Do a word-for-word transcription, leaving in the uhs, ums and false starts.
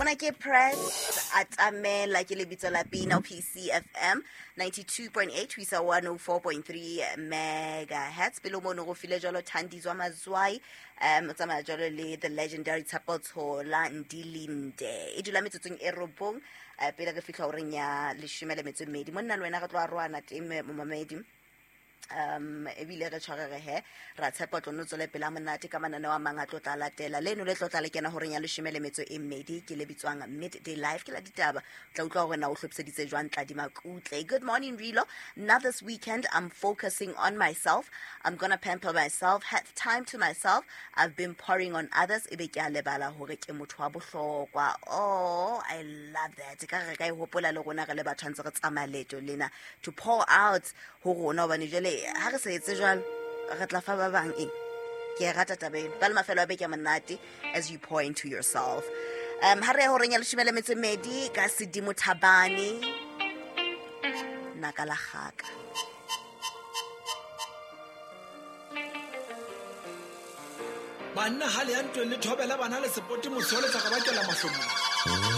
Mona ke Press atamela ke lebitso la pina P C F M ninety-two point eight ho isa one oh four point three megahertz. Pele mono go file jwalo Thandizwa Mazwai, um o tsamaya jwalo le the legendary Tshepo Tshola Ndilinde. E dula metsotsong e robong, eh, pele re fihla horeng ya leshome le metso e mmedi. Monna le wena re tlo arohana teng momamedi. Um ebile re tshwarege he ra tshepa tlo no tswele pele monate ka mananeo a mang a tlo tla latela leno le tlo tla le kena horeng ya leshome le metso e mmedi ke le bitswang Midday Live ke la ditaba. Tla utlwa hore na o hlophiseditse jwang Tladi Makutle. Good morning Rilo. Now this weekend I'm focusing on myself. I'm gonna pamper myself, have time to myself. I've been pouring on others ebe ke a lebala hore ke motho wa bohlokwa. Oh, I love that. Ka re ka e hopola le rona re le batho ntse re tsamaya leeto lena to pour out ho rona hobane jwale ha re sa etse jwalo re tla fa ba bang eng. Ke e rata taba eno. Ba le mafelo a beke a monate as you pour into yourself. Um ha re ya horeng ya leshome le metso e mmedi ka Sedimo Thabane naka la kgaka. Banna ha le ya ntweng le thobela bana le sepote mosole tsa ka bakela mahlomola.